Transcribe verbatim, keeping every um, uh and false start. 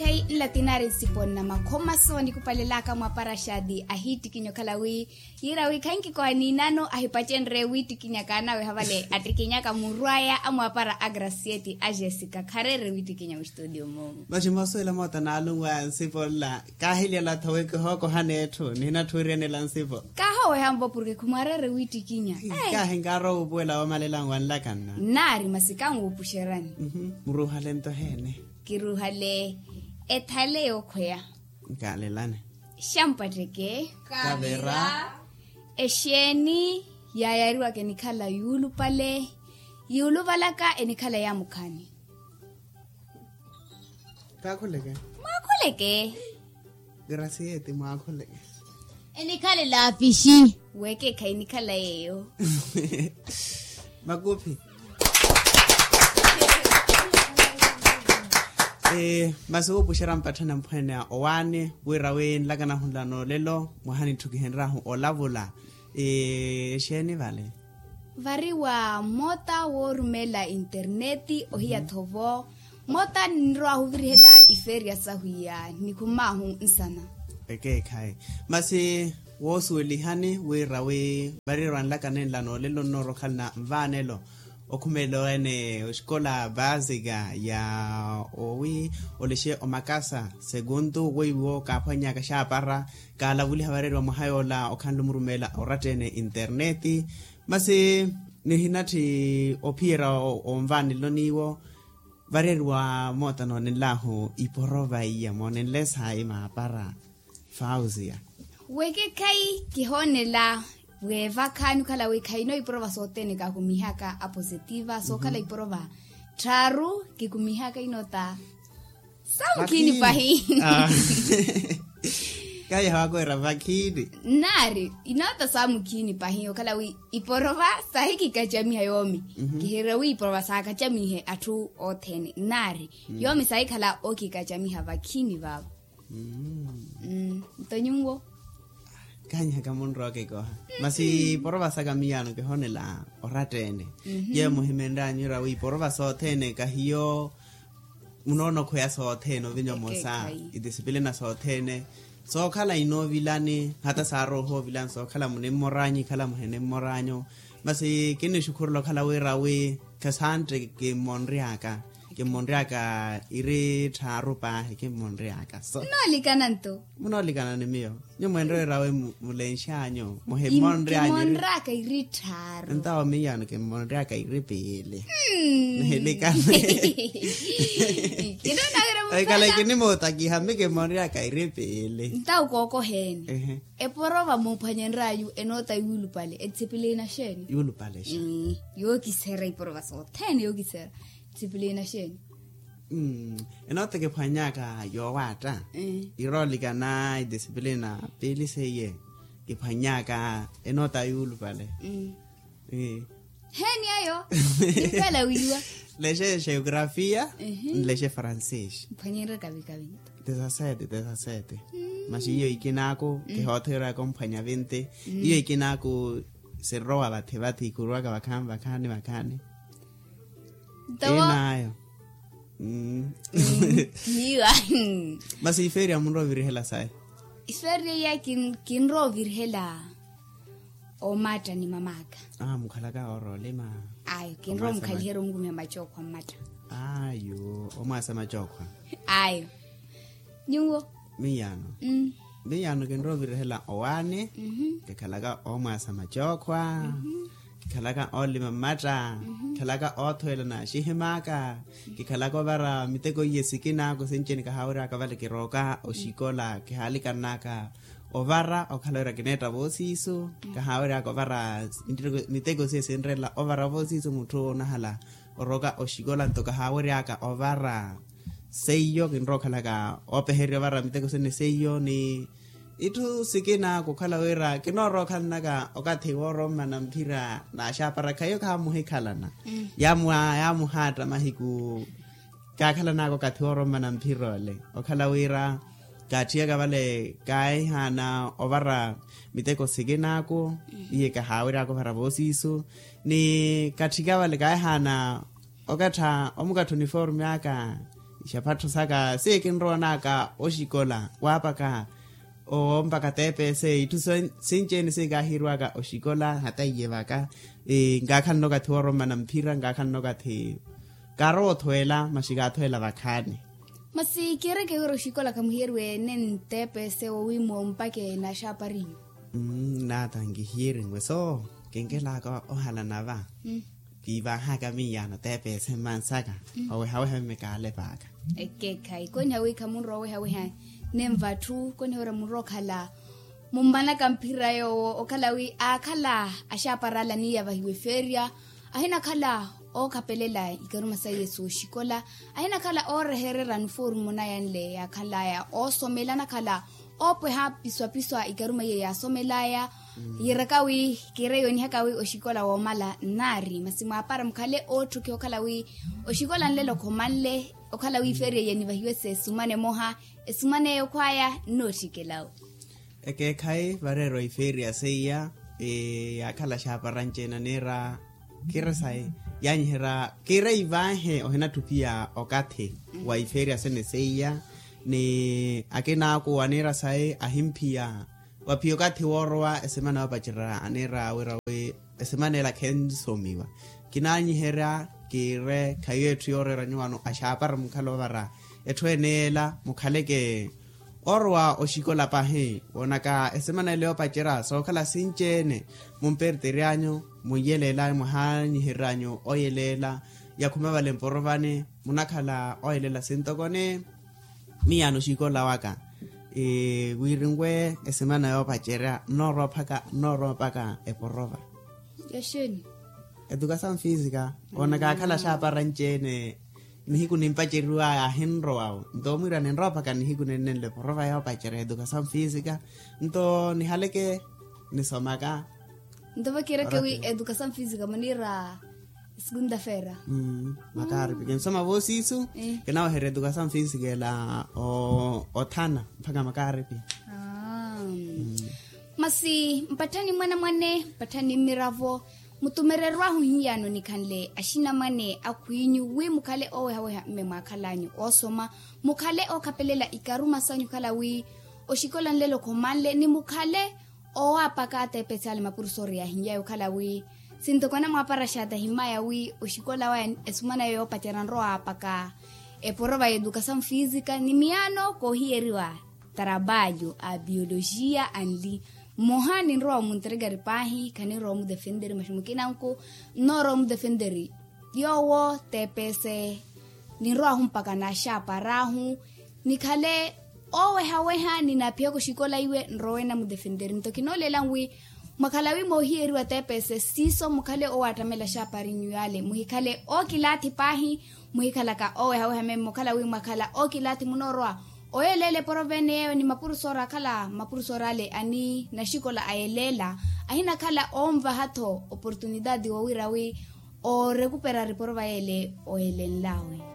Nlatinari nsipo nnamakhomaso nikupalelaka mwaparashati ahiittikinya okhala wi yiira wi khankikoha niinano ahipacenrye wiittikinyaka naweha vale attikinyaka murwaya amwapara a gracieti a jessica khareere wiittikinya mustutio mumu. Masi moosuwela moota naalunwaya nsipo nla kaahilyalatho wi kihookohana etthu nihinatthu wiirenela nsipo. Kaahoweha mpo porke khumwareere wiittikinya. Kaahi nkaarowa wuupuwela woomalela nwanlakanna. Nnaari masi kanwuupuxerani. Muruuhale nto heene? Kiruuhale ethale yookhweya. Nkaalelane. Xampateke. Kavira. Exeeni yaayariwaka enikhala yuulupale yuuluvalaka enikhala yaamukhaani. Kaakhuleke. Mwaakhuleke. Gracieti mwaakhuleke. Enikhala elaafixi. Weekeekhayi enikhala yeeyo. Makuphi. Masi wuupuxerya mpatthana mphweene owaani wira wi nlakanahu nla noolelo mwaha nitthu kihenryahu olavula. Exeeni vale? Vari wa moota woorumeela interneti ohiya thovo moota ninrowa ahuvirihela ifeeriya sahu iya nikhumaahu nsana. Ekeekhayi. Masi woosuwelihani wira wi vari wanlaka nenla noolelo nnoorokhalana nvaanelo okhumelela ene oxikola vaasika ya owi olexe omakasa sekuntu weiwo kaaphwannyaka xaapara kaalavuliha vareeriwa mwaha yoola okhanle omurumeela oratta ene interneti. Masi nihinatthi ophiyerya onvaanelo niiwo vareeriwa moota noonenlahu iporova iya moonenle saayi maapara. Fausia. Wekekhayi kihoonela weevakhaani okhala wi khayino iporova sothene kaakumihaka apositiva sookhala iporova tthaaru kikumihaka inoota saamukhiini pahi. Kayaha wakoera vakhiini. Nnaari inoota saamukhiini pahi okhala wi iporova saahikikacamiha yoomi. Kihireera wi iporova saakacamihe atthu othene nnaari yoomi saahikhala ookikacamiha vakhiini vaavo. Nto nyuwo. Kaanyiha kamunrowa okikoha masi iporova saka miyaano kihoonela oratta ene. Yeeyo muhimenryanyu ira wi iporova sothene kahiyo munoona okhweya sothene ovinya omosa. Idisipilina sothene sookhala inoovilani hata saarooha ovilani sookhala munimmor'anyu ikhala muhenimmor'anyu. Masi kinnixukhurela okhala wira wi khasantte kimmonry'aka kimmonry'aka iri tthaaru paahi kimmonry'aka so. Nnoolikana nto. Munoolikana ni miyo nyuwo mwenre wira wi mulenx'anyu muhimmonry'anyu. Kimmonry'aka iri tthaaru. Ntawo miyaano kimmonry'aka iri piili. Nihilikane. Ekale kinimootakiha mi kimmonry'aka iri piili. Ntawo kookoheene. Eporova muuphwanyenryayu enoota yuulupale etsipilina xeeni? Yuulupale xa. Yookiserya iporova sothene yookiserya etsipilina xeeni? Enoota kiphwanyaka yoowaatta iroolikana idisipilina piili seiye kiphwanyaka enoota yuulupale. Heeni ayo? Niphela wiiwa. Lexe geografia nlexe francês. Mphwanyenre kavi kavi nto. Dezasete dezasete. Masi iyo ikinaaku kihootheryaka omphwanya vinti. Iyo ikinaaku sinrowa vathi vathi ikhuruwaka vakhaani vakhaani vakhaani. Nto inaayo. Kihiwa. Masi ifeeriya munrowa ovirihela sayi? Ifeeriya iya kinrowa ovirihela. Omatta ni mam'aka. Mukhalaka ooroolima? Ayo kinrowa omukhaliherya onkumiha macookhwa mmatta. Ayo omwaasa macookhwa. Ayo. Nyuwo? Miyaano. Miyaano kinrowa ovirihela owaani. Kikhalaka omwaasa macookhwa. Kikhalaka oolima mmatta. Kikhalaka oothuwela naaxihim'aka. Kikhalaka ovara miteko iye sikin'aku sinci ni kahaawery'aka vale kirooka oxikola kihaalikan'aka. Ovara okhala wira kineetta voosiisu. Kahaawery'aka ovara miteko siye sinreela ovara voosiisu mutthu onahala orooka oxikola nto kahaawery'aka ovara. Seiyo kinrowa okhalaka oopeheriwa ovara miteko sene seiyo ni itthu sikina kukhala wira kinoorowa okhalnaka okathi woorommana mphira naaxaapara khaiyo khamuhikhalana. Yaamuhaatta mahiku kaakhalanaka okathi woorommana mphira ole okhala wira kaattiyaka vale kaahihaana ovara miteko sikin'aku iye kahaawery'aka ovara voosiisu. Ni katthika vale kaahihaana okattha omukattha uniforme aka Ixapattho saka siikinrowanaka oxikola waapaka ompaka tps itthu sinci-ene siikaahiriwaka oxikola hata iye vaka. Nkaakhalana okathi wooromana mphira nkaakhalana okathi kaarowa othweela masi kaathweela vakhaani. Masi kiireke wira oxikola khamuhiyeriwe ene ntps wowiimo mpake naxaaparinyu. Naata nkihiyerinwe so kinkelaka ohalana va. Kiivaahaka miyaano teepeese mmansaka owehaweha mmekaale paaka. Ekeekhayi koniha wi khamunrowa owehaweha nenva atthu koniha wira munrowa okhala mummanaka mphira yoowo okhala wi aakhala axaaparala niiyavahiwa efeerya ahinakhala ookhapelela ikaruma saiye sooxikola ahinakhala oorehererya niforumo nayanle yaakhalaya oosomela anakhala oopweha piswapiswa ikaruma iye yaasomelaya. Yiiraka wi kiire yoonihaka wi oxikola woomala nnaari masi mwaapara mukhale ootthukhiha okhala wi oxikola nlelo khomanle okhala wi feeriya yenivahiwe s'esumana emoha esumana eyo khwaya nnootthikela wi. Ekeekhayi vareera oifeeriya seiya yaakhala xaaparanci-ene aniira kiire sayi yaanyiherya kiire ivaahe ohinatthu phiya okathi wa ifeeriya sene seiya ni akina aku aniira sayi ahimphiya waphiya okathi woorowa esemana yoopacerya aniira wira wi esemana ela khensomiwa kinaanyiherya kiire khayi etthu yooreera nyuwano axaapara mukhala ovara etthu ene ela mukhaleke oorowa oxikola pahi woonaka esemana ela yoopacerya sookhala sinci-ene mumpertery'anyu munyelela mwahaanyihery'anyu oyelela yakhuma vale mporovani munakhala oyelela sintokoni. Miyaano oxikola waka wiirinwe esemana yoopacerya nnoorowa phaka nnoorowa mpaka eporova. Yaxeeni? Edukasamu fisika woonaka akhala axaapara nci-ene nihiku nimpaceriwaya ahinrowa-wo nto mwiira ninrowa mpaka nihiku nennenle porova yoopacerya edukasamu fisika nto nihaleke nisomaka. Nto vakiireke wi edukasamu fisika muniira segunda feera. Makaaripi kinsoma voosiisu kinaweherya edukasamu fisika ela othana mpaka makaaripi. Masi mpatthani mwanamwane mpatthani mmiravo mutumererw'ahu hiyano nikhanle axinamwane akhw'inyu wi mukhale oowehaweha mme mwaakhal'anyu oosoma mukhale ookhapelela ikaruma sanyu okhala wi oxikola nlelo khomanle ni mukhale owaapaka atepetsi ale mapurusori yaahin'yayo okhala wi sintoko anamwaapara xaata ahimmaya wi oxikola waya esumana eyo yoopacerya nrowaapaka eporova y'edukasamu fisika ni miyaano koohiyeriwa tarabalyo a biolojiya anli mmoha ninrowa omunterekari paahi khaninrowa omudefenteri maxi mukinanku nnoorowa omudefenteri yoowo tepese ninrowahu mpaka naxaapar'ahu nikhale oowehaweha ninaphiyaka oxikola iwe nrowe namudefenteri nto khinooleela nwi mwakhala wi moohiyeriwa tepese siiso mukhale oowaattamela axaaparinyu yale muhikhale ookilaathi paahi muhikhalaka oowehaweha meme okhala wi mwakhala ookilaathi munoorowa oyeeleela eporovene yeeyo ni mapurusori akhala mapurusori ale ani naxikola ayeeleela ahinakhala oonvaha-tho oportunitaati woowira wi oorekupera riporova yeele oyeelenlawe.